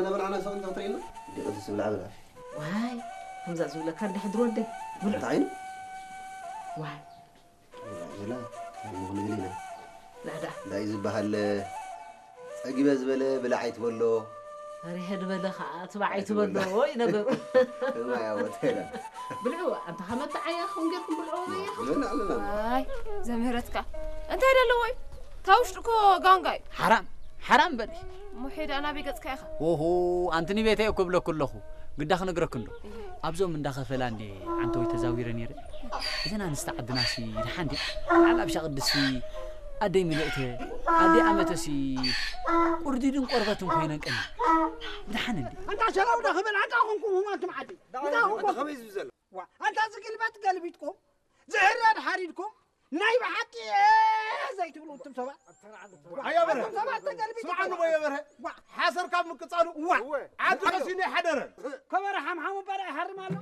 ነበልዓና ሰቕን ክትርእየና? ደቂ ዝብላ ብላ። ዋይ፣ ከምዛ ዝብለካ እንዲሕ ድሮ ወደይ። ብልዑ። እንታይ? ዋይ። ዝላ፣ እንታይ ክንብል ኢና? ናዳ። እንታይ ዝበሃል? ጸጊበ ዝበለ ብላዕ ኣይትበሎ። ሪሀ ዝበለ ከዓ ትባዕ ኣይትበሎ እዩ ነገሩ። እማ ያወተላ። ብልዑ፣ ኣንታ ከመተዓያ ኹን ጌርኩም ብልዑ በያ። ምን ኣለና? ኣይ ዘምህረትካ እንታይ ደለዎ እዩ? እታ ውሽጢ እኮ ጋንጋ እዩ። ሓራም ሓራም በሊ። ሙሒዳ ናበይ ገጽካ ኢኻ? ኦሆ ኣንቲ ንቤተይ እኮ ብለኩ ኣለኹ። ግዳ ክነግረክ እንዶ ኣብዞም እንዳኸፈላ እንዴ ዓንተወይ ተዛዊረ ነይረ። እዘን ኣንስቲ ዓድናሲ ድሓን ድያ? በዓል ኣብሻ ቅድስቲ ኣደይ ሚልእተ ኣደይ ኣመተሲ ቁርዲድን ቆርበትን ኮይነን ቀኒ ብድሓን እንዴ? ኣንታ ሸራው ዳ ክብል ኣንታ ኹንኩም ሁማንቱም ዓዲ እንታ ኹንኩም ከመይ ዝብል ዘሎ? ዋ ኣንታ ዝግልበጥ ገልቢጥኩም ዝህረድ ሓሪድኩም ናይ ብሓቂ ዘይትብሉ እቱም ሰባት ኣያ በርሀ እቱም ሰባት ተገልቢጥኩም ስምዓኒ ቦየ በርሀ ሓሰር ካብ ምቅጻሉ ዋ ዓዲ ቀሲኑ ይሓደረ ከበረ ሓምሓሙ በረ ይሃርም ኣሎ